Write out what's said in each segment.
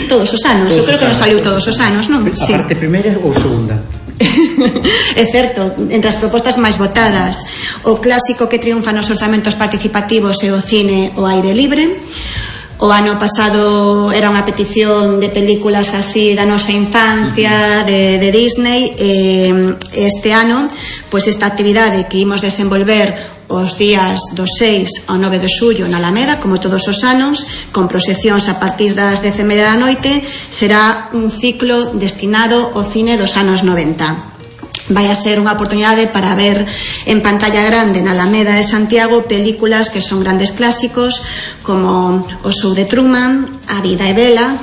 todos os anos, eu creo que nos saliu todos os anos, non? A parte primeira ou segunda? É certo, entre as propostas máis votadas, o clásico que triunfa nos orzamentos participativos é o cine ao aire libre. O ano pasado era unha petición de películas así da nosa infancia, de Disney. Este ano, pois esta actividade que imos desenvolver os días do 6 ao 9 de xullo na Alameda, como todos os anos, con proxeccións a partir das 10:30 da noite, será un ciclo destinado ao cine dos anos 90. Vai a ser unha oportunidade para ver en pantalla grande na Alameda de Santiago películas que son grandes clásicos como O Show de Truman, A vida é bela,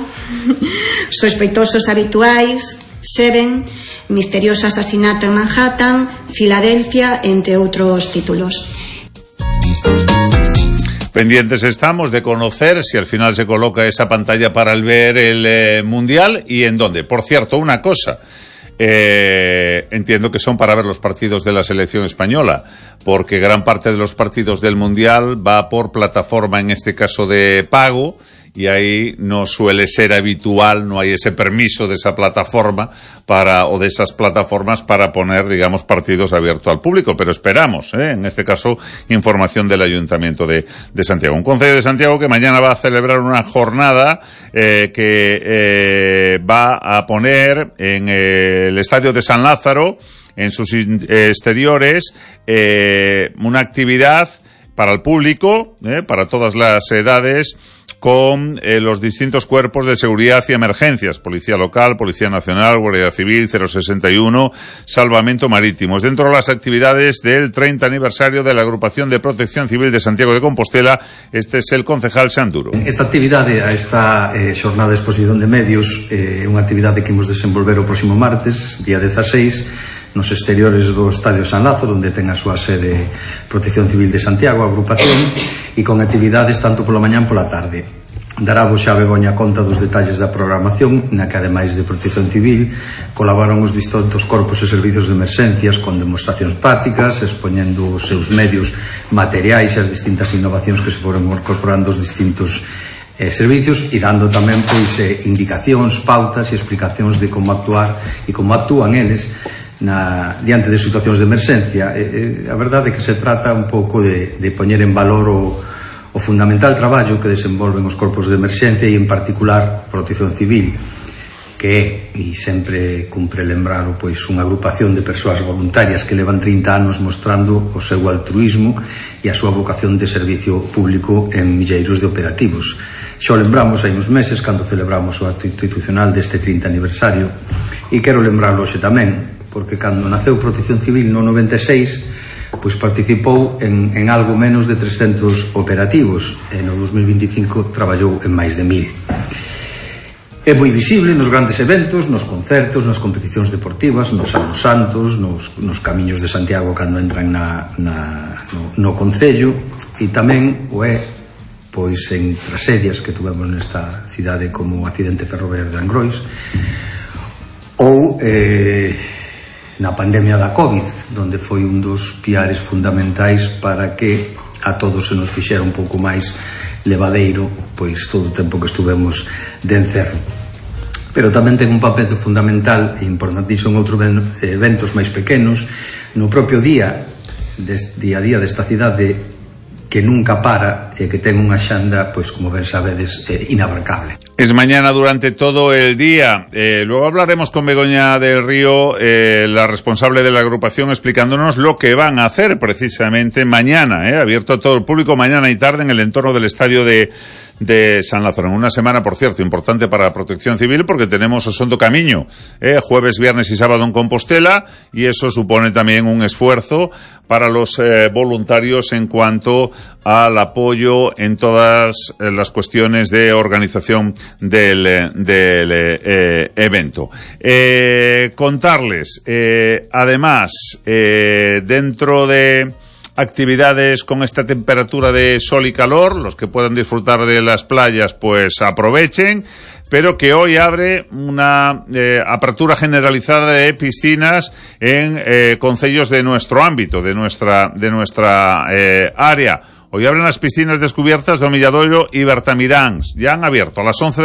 Sospeitosos habituais, Seven, Misterioso asasinato en Manhattan, Filadelfia, entre outros títulos. Pendientes estamos de conocer si al final se coloca esa pantalla para ver el Mundial y en dónde. Por cierto, una cosa, entiendo que son para ver los partidos de la selección española, porque gran parte de los partidos del Mundial va por plataforma, en este caso de pago, y ahí no suele ser habitual, no hay ese permiso de esa plataforma o de esas plataformas para poner, digamos, partidos abiertos al público, pero esperamos, en este caso, información del Ayuntamiento de Santiago. Un concello de Santiago que mañana va a celebrar una jornada que va a poner en el Estadio de San Lázaro, en sus exteriores, una actividad para el público, para todas las edades, con los distintos cuerpos de seguridad y emergencias, Policía Local, Policía Nacional, Guardia Civil, 061, Salvamento Marítimo. Dentro de las actividades del 30 aniversario de la Agrupación de Protección Civil de Santiago de Compostela, este es el concejal Sanduro. Esta actividade, esta xornada de exposición de medios, é unha actividade que imos desenvolver o próximo martes, día 16, nos exteriores do Estadio San Lázaro, onde ten a súa sede Protección Civil de Santiago, a agrupación, e con actividades tanto pola mañá pola tarde. Dará xa Begoña conta dos detalles da programación, na que ademais de Protección Civil colaboran os distintos corpos e servizos de emerxencias con demostracións prácticas, expoñendo os seus medios materiais e as distintas innovacións que se foron incorporando os distintos servicios, e dando tamén pois indicacións, pautas e explicacións de como actuar e como actúan eles diante de situacións de emerxencia. A verdade é que se trata un pouco de poñer en valor o fundamental traballo que desenvolven os corpos de emerxencia e en particular Protección Civil, que é, e sempre cumpre lembralo, pois unha agrupación de persoas voluntarias que levan 30 anos mostrando o seu altruismo e a súa vocación de servicio público en milleiros de operativos. Xa o lembramos hai uns meses cando celebramos o acto institucional deste 30 aniversario, e quero lembralo hoxe tamén, porque cando naceu Protección Civil no 96, pois participou en algo menos de 300 operativos, e no 2025 traballou en máis de 1000. É moi visible nos grandes eventos, nos concertos, nas competicións deportivas, nos Salos Santos, nos camiños de Santiago cando entran no concello, e tamén o é pois en tragedias que tuvemos nesta cidade como o accidente ferroviario de Angrois, ou na pandemia da COVID, donde foi un dos piares fundamentais para que a todos se nos fixera un pouco máis levadeiro pois todo o tempo que estuvemos de encerro. Pero tamén ten un papel fundamental e importantísimo en outros eventos máis pequenos, no propio día a día desta cidade, que nunca para e que ten unha xanda, pois como ben sabedes, inabarcable. Es mañana durante todo el día. Luego hablaremos con Begoña del Río, la responsable de la agrupación, explicándonos lo que van a hacer precisamente mañana, abierto a todo el público mañana y tarde en el entorno del estadio de San Lázaro. En una semana, por cierto, importante para la Protección Civil, porque tenemos Osondo Camiño, jueves, viernes y sábado en Compostela, y eso supone también un esfuerzo para los voluntarios en cuanto al apoyo en todas las cuestiones de organización del evento. Contarles, además, dentro de actividades con esta temperatura de sol y calor, los que puedan disfrutar de las playas pues aprovechen, pero que hoy abre una apertura generalizada de piscinas en concellos de nuestro ámbito, de nuestra área. Hoy abren las piscinas descubiertas de Omilladoiro y Bertamiráns. Ya han abierto a las 11